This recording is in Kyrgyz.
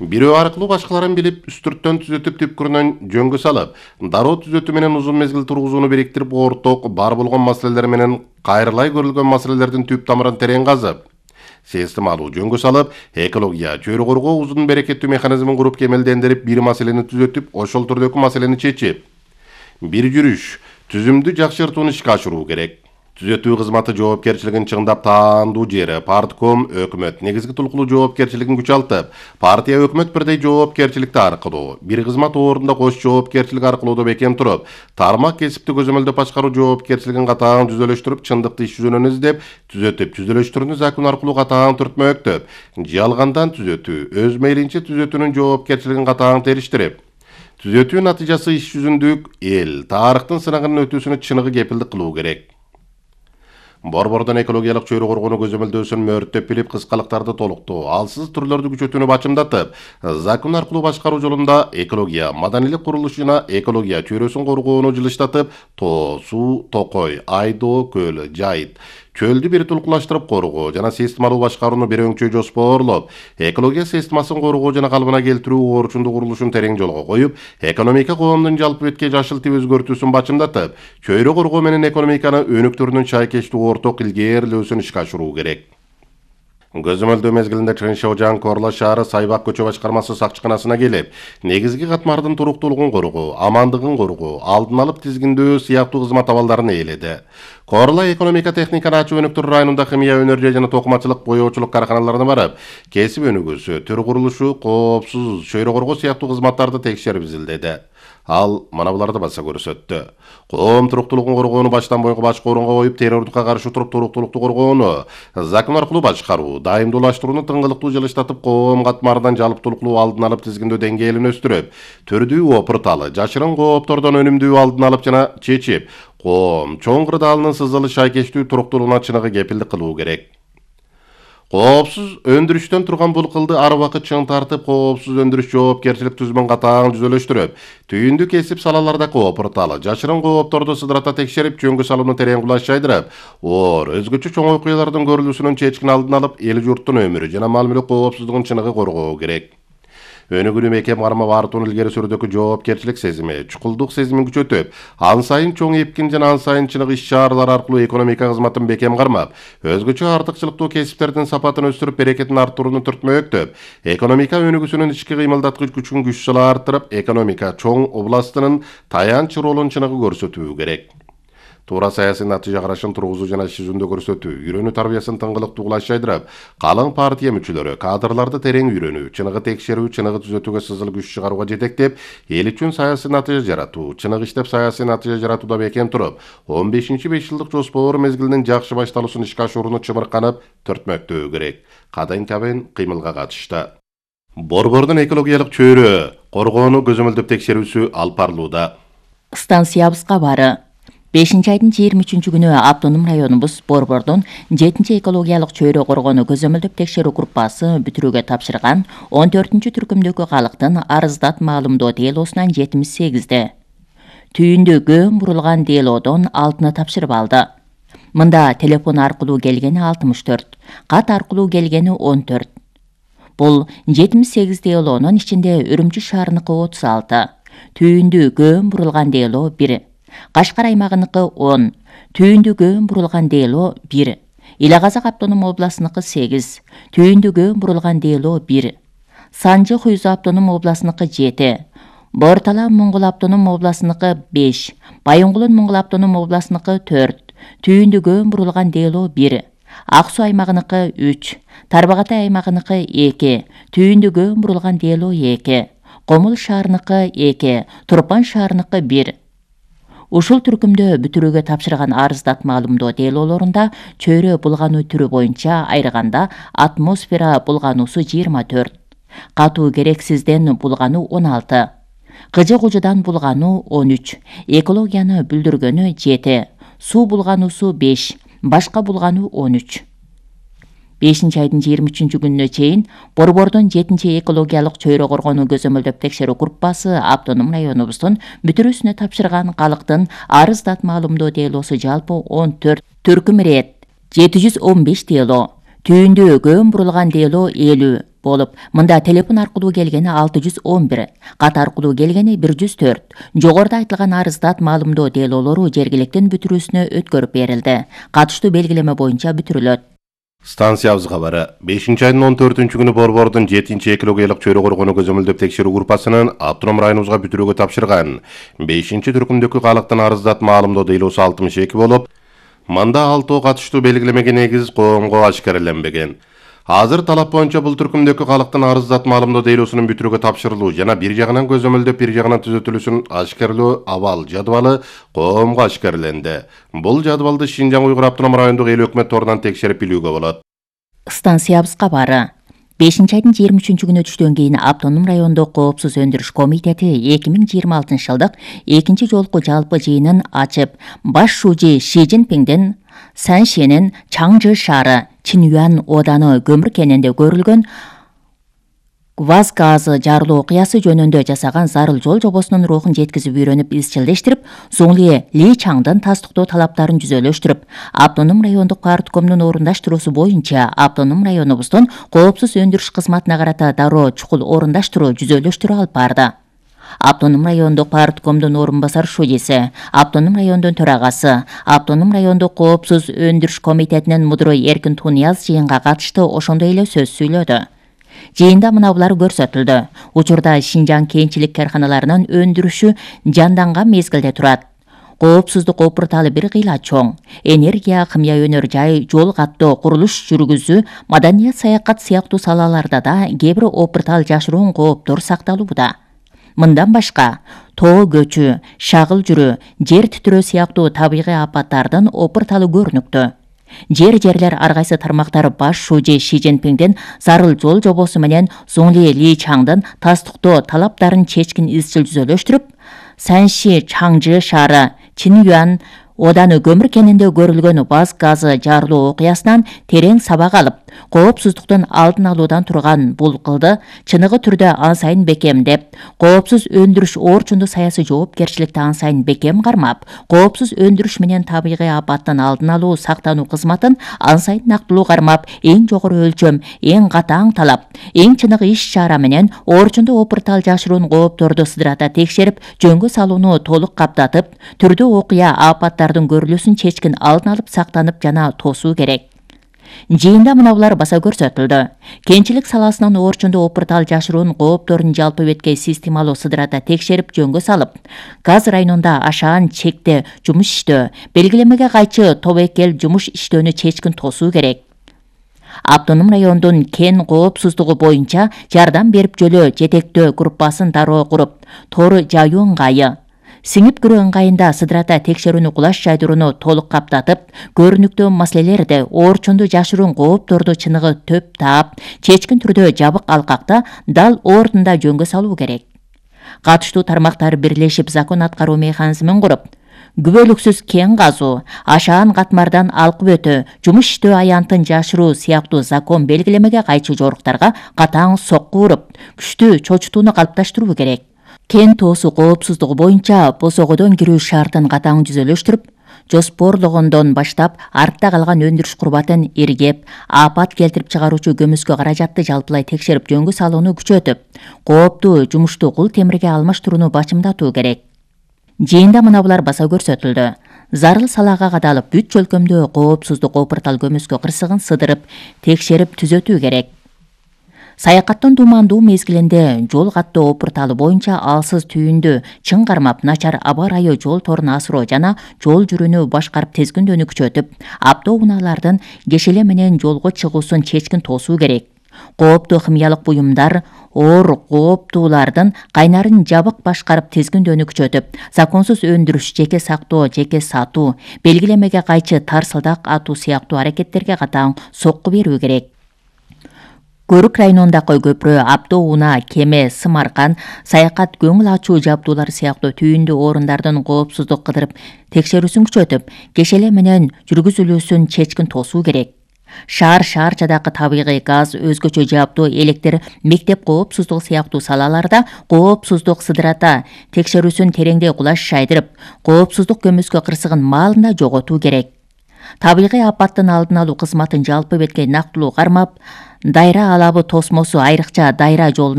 Бирөө аркылуу башкаларын билип, үстүрттөн түзөтүп түпкүрүнөн жөнгө салып, дароо түзөтүү менен узун мезгил тургузууну бириктирип, орток бар болгон маселелер менен кайрылай көрүлгөн маселелердин түп тамырын терең казып, системалуу жөнгө салып, экология, чөйрө коргоо узун берекеттүү механизмин куруп кемелдендирип, бир маселени түзөтүп, ошол түрдөгү маселени чечип, бир жүрүш, түзүмдү жакшыртууну ишке ашыруу керек. Түзөтүү кызматы жоопкерчилигин чыңдап таандуу жери партком өкмөт негизги тулкулуу жоопкерчилигин күчалтып, партия өкмөт бирдей жоопкерчиликти аркылуу, бир кызмат ордунда кош жоопкерчилик аркылуу бекем туруп, тармак кесипти көзөмөлдөп башкаруу жоопкерчилигин катаң түзөлөштүрүп, чындыкты иш жүзүнөн издеп, түзөтүп, түзөлөштөрүнү закон аркылуу катаң түртмөктөп, жалгандан түзөтүү, өз мейлинче түзөтүүнүн жоопкерчилигин катаң териштирип, түзөтүү натыйжасы иш жүзүндүк эл, тарыхтын сынагынан өтүүсүнө чыныгы кепилдик кылуу керек. Борбордон экологиялык чөйрө коргоону көзөмөлдөөсүн мөрттөп билип, кыскалыктарды толуктоо, алсыз түрлөрдү күчөтүүнү бачымдатып, закон аркылуу башкаруу жолунда экология, маданийлик курулуш жана экология чөйрөсүн коргоону жылыштатып, тоо, суу, токой, айдоо, көл, жайыт, чөлдү бир тулкулаштырып коргоо жана системалуу башкарууну бир өңчө жоспоорлоп, экология системасын коргоо жана калыбына келтирүү орчундуу курулушун терең жолго коюп, экономика коомдун жалпы бетке жашыл тип өзгөртүүсүн бачымдатып, чөйрө коргоо менен экономиканы өнүктүрүүнүн чайкештүү орток илгээрлөөсүн ишке ашыруу керек. Көзөмөлдөө мезгилинде Чыншыжаң Корлаш шаары Сайбак көчө башкармасы сакчыканасына келип, негизги катмардын туруктуулугун коргоо, амандыгын коргоо, алдын алып тизгиндөө сыяктуу кызмат абалдарын ээледи. Корла экономика техниканы ачуу өнүктүрүү районунда химия өнөр жана токумачылык, боёочулук карканаларына барып, кесип өнүгүүсү, төр курулушу, коопсуз, чөйрө коргоо сыяктуу кызматтарды текшерип изилдеди. Ал мына буларды баса көрсөттү. Коом туруктуулугун коргоону баштан бойго башкы орунга коюп, террордукка каршы туруп, туруктуулукту коргоону, закон аркылуу башкаруу, дайымдуулаштырууну тыңгылыктуу жылыштатып, коом катмардан жалптуулукту алдын алып тизгиндөө деңгээлин өстүрүп, түрдүү опырталы, жашырын кооптордон өнүмдүү алдын алып жана чечип, коом чоң кырдаалынын сызылыш шайкештүү туруктуулугуна чыныгы кепилдик кылуу керек. Коопсуз өндүрүштөн турган бул кылды ар убакыт чың тартып, коопсуз өндүрүш жоопкерчилик түзүмүн катаң түзөлөштүрүп, түйүндү кесип салалардагы опырталы, жашырын коопторду сыдырата текшерип, жөнгө салууну терең кулаш жайдырып, өзгөчө чоң окуялардын көрүлүүсүнүн чечкин алдын алып, эл журттун өмүрү жана мал мүлк коопсуздугун чыныгы коргоо керек. Өнүгүүнү бекем кармап артуун илгери сүрүүдөгү жоопкерчилик сезими, чукулдук сезимин күчөтүп, ан сайын чоң эпкин жана ан сайын чыныгы иш-чаралар аркылуу экономика кызматын бекем кармап, өзгөчө артыкчылыктуу кесиптердин сапатын өстүрүп, берекетин арттырууну түртмөктөп, экономика өнүгүүсүнүн ички кыймылдаткыч күчүн күч-сала арттырып, экономика чоң областынын таянч ролун чыныгы көрсөтүү керек. Туура саясий натыйжа карашын тургузуу жана иш жүзүндө көрсөтүү, үйрөнүү тарбиясын тыңгылыктуу кулаш жайдырып, калың партия мүчөлөрү кадрларды терең үйрөнүү, чыныгы текшерүү, чыныгы түзөтүүгө сызыл күч чыгарууга жетектеп, эл үчүн саясий натыйжа жаратуу, чыныгы иштеп саясий натыйжа жаратууда бекем туруп, 15-5 жылдык жоспор мезгилинин жакшы башталуусун ишке ашырууну чыбырканып түртмөктөө керек. Кадайын кыймылга катышты. Борбордун экологиялык чөйрө коргоону көзөмөлдөп текшерүүсү алып барылууда. Станциябызга бары 5-айдын 23-күнү автоном районубуз Борбордон 7 экологиялык чөйрө коргоону көзөмөлдөп текшерүү группасы бүтүрүүгө тапшырган 14-түркүмдөгү калктын арыздат маалымдоо делосунан 78-де. Түйүндө көм бурулган делодон 6-ны тапшырып алды. Мында телефон аркылуу келгени 64, кат аркылуу келгени 14. Бул 78 делонун ичинде Үрүмчү шаарыныкы 36, түйүндө көм бурулган дело 1, Кашкар аймагыныкы 10, түйүндө көм бурулган дело 1, Ила Казак автоном областыныкы 8, түйүндө көм бурулган дело 1, Санжы Хуйзу автоном областыныкы 7, Бортала Моңгол автоном областыныкы 5, Байоңгулун Моңгол автоном областыныкы 4, түйүндө көм бурулган дело 1, Ак Суу аймагыныкы 3, Тарбагатай аймагыныкы 2, түйүндө көм бурулган дело 2, Комул шаарыныкы 2, Турпан шаарыныкы 1. Ушул түркүмдө бүтүрүүгө тапшырган арыздат маалымдоо делолорунда чөйрө булгануу түрү боюнча айрганда атмосфера булгануусу 24, катуу керексизден булгануу 16, кыжы кужудан булгануу 13, экологияны бүлдүргөнү 7, суу булгануусу 5, башка булгануу 13. 5-айдын 23-күнүнө чейин Борбордон 7 экологиялык чөйрө коргоону көзөмөлдөп текшерүү группасы автоном районубуздун бүтүрүүсүнө тапшырган калктын арыздат маалымдоо делосу жалпы 14 түркүм рет 715 дело, Түйүндө көм бурулган дело 50 болуп, мында телефон аркылуу келгени 611, кат аркылуу келгени 104. Жогоруда айтылган арыздат маалымдоо делолору жергиликтин бүтүрүүсүнө өткөрүп берилди. Катыштуу белгилеме боюнча бүтүрүлөт. Станциябыз кабары. 5-айдын 14-күнү Борбордун 7-экологиялык чөйрө коргонуу көзөмөлдөп текшерүү группасынын автоном районубузга бүтүрүүгө тапшырган 5-түркүмдөгү калктын арыздат маалымдоо делосу 62 болуп, мында 6 катыштуу белгилемеге негиз коомго ашкареленбеген. Азыр талап боюнча бул түркүмдөгү калктын арыздат маалымдоо делосунун бүтүрүүгө тапшырылуу жана бир жагынан көзөмөлдөп, бир жагынан түзөтүлүүсүн ашкарелөө абал жадыбалы коомго ашкареленди. Бул жадыбалды Шинжаң Уйгур автоном райондук эл өкмөт торунан текшерип билүүгө болот. Станциябыз кабары. 5-айдын 23-күнү түштөн кийин автоном райондук коопсуз өндүрүш комитети 2026-жылдык 2 жолку жалпы жыйынын ачып, баш шужи Ши Цзиньпиңдин Саншенин Чаңжы шаары Чинюан оданы көмүр кенинде көрүлгөн ВАЗ газы жарылуу окуясы жөнүндө жасаган зарыл жол жобосунун рухун жеткизип үйрөнүп, изчилдештирип, Зуңли Ли Чаңдын тастыктоо талаптарын жүзөлөштүрүп, автоном райондук парткомдун орундаштыруусу боюнча автоном районубуздун коопсуз өндүрүш кызматына карата дароо чукул орундаштыруу, жүзөлөштүрүү алып барды. Автоном райондук парткомдун орун басар шудиси, автоном райондун төрагасы, автоном райондук коопсуз өндүрүш комитетинин мудуру Эркин Тунияз жыйынга катышты ошондой эле сөз сүйлөдү. Жыйында мына булар көрсөтүлдү. Учурда Шинжаң кенчилик карканаларынын өндүрүшү жанданган мезгилде турат. Коопсуздук опурталы бир кыйла чоң. Энергия, кымя өнөр жай, жол каттоо, курулуш жүргүзүү, маданият, саякат сыяктуу салаларда да кээ бир опуртал жашыруун кооптор сакталууда. Мындан башка, тоо көчү, шагыл жүрүү, жер титирөө сыяктуу табигый апаттардын опурталы көрүнүктүү. Жерлер ар кайсы тармактар баш шужи Ши Цзиньпиңдин зарыл жол жобосу менен Зуңли Ли Чаңдын тастыктоо талаптарын чечкин изчил жүзөлөштүрүп, Санши Чаңжы шаары Чинюан оданы көмүр кенинде көрүлгөн ВАЗ газы жарылуу окуясынан терең сабак алып, коопсуздуктун алдын алуудан турган бул кылды чыныгы түрдө ан сайын бекемдеп, коопсуз өндүрүш орчундуу саясий жоопкерчиликти ан сайын бекем кармап, коопсуз өндүрүш менен табигый апаттын алдын алуу, сактануу кызматын ан сайын нактылуу кармап, эң жогору өлчөм, эң катаң талап, эң чыныгы иш-чара менен орчундуу опуртал жашыруун коопторду сыдырата текшерип, жөнгө салууну толук каптатып, түрдүү окуя апаттардын көрүлүүсүн чечкин алдын алып, сактанып жана тосуу керек. Жыйында мына булар баса көрсөтүлдү. Кенчилик саласынын орчундуу опуртал жашыруун коопторун жалпы беткей системалуу сыдырата текшерип, жөнгө салып, газ районунда ашаан чекте жумуш иштөө, белгилемеге кайчы тобокел жумуш иштөөнү чечкин тосуу керек. Автоном райондун кен коопсуздугу боюнча жардам берип жөлөө жетектөө группасын дароо куруп, тор жаюу ыңгайы, сиңип кирүү ыңгайында сыдырата текшерүүнү кулаш жайдырууну толук каптатып, көрүнүктүү маселелерди, орчундуу жашыруун коопторду чыныгы төп таап, чечкин түрдө жабык алкакта дал ордунда жөнгө салуу керек. Катыштуу тармактар бирлешип закон аткаруу механизмин куруп, күбөлүксүз кен казуу, ашаан катмардан алкып өтүү, жумуш иштөө аянтын жашыруу сыяктуу закон белгилемеге кайчы жоруктарга катаң сокку уруп, күчтүү чочутууну калыпташтыруу керек. Кен тоосу коопсуздугу боюнча босогодон кирүү шартын катаң жүзөлөштүрүп, жоспорлогондон баштап артта калган өндүрүш курбатын иргеп, апат келтирип чыгаруучу көмүскө каражатты жалпылай текшерип, жөнгө салууну күчөтүп, кооптуу жумушту кул темирге алмаштырууну бачымдатуу керек. Жыйында мына булар баса көрсөтүлдү. Зарыл салага кадалып, бүт чөлкөмдө коопсуздук опуртал көмүскө кырсыгын сыдырып, текшерип түзөтүү керек. Саякаттын тумандуу мезгилинде жол каттоо опурталы боюнча алсыз түйүндү чың кармап, начар аба ырайы жол торун асыроо жана жол жүрүүнү башкарып тезгиндөөнү күчөтүп, автоунаалардын кешеле менен жолго чыгуусун чечкин тосуу керек. Кооптуу химиялык буюмдар, оор кооптуулардын кайнарын жабык башкарып тезгиндөөнү күчөтүп, законсуз өндүрүш, жеке сактоо, жеке сатуу, белгилемеге кайчы тарсылдак атуу сыяктуу аракеттерге катаң сокку берүү керек. Көрүк районундагы көпүрө, автоунаа, кеме, сымаркан, саякат, көңүл ачуу жабдуулар сыяктуу түйүндүү орундардын коопсуздук кыдырып текшерүүсүн күчөтүп, кешеле менен жүргүзүлүүсүн чечкин тосуу керек. Шаарчадагы табигый газ, өзгөчө жабдуу, электр, мектеп коопсуздугу сыяктуу салаларда коопсуздук сыдырата текшерүүсүн тереңдей кулаш жайдырып, коопсуздук көмүскө кырсыгын маалында жоготуу керек. Табигый апаттын алдын алуу кызматын жалпы бетке нактылуу кармап, дайра алабы тосмосу айрыкча дайра жолу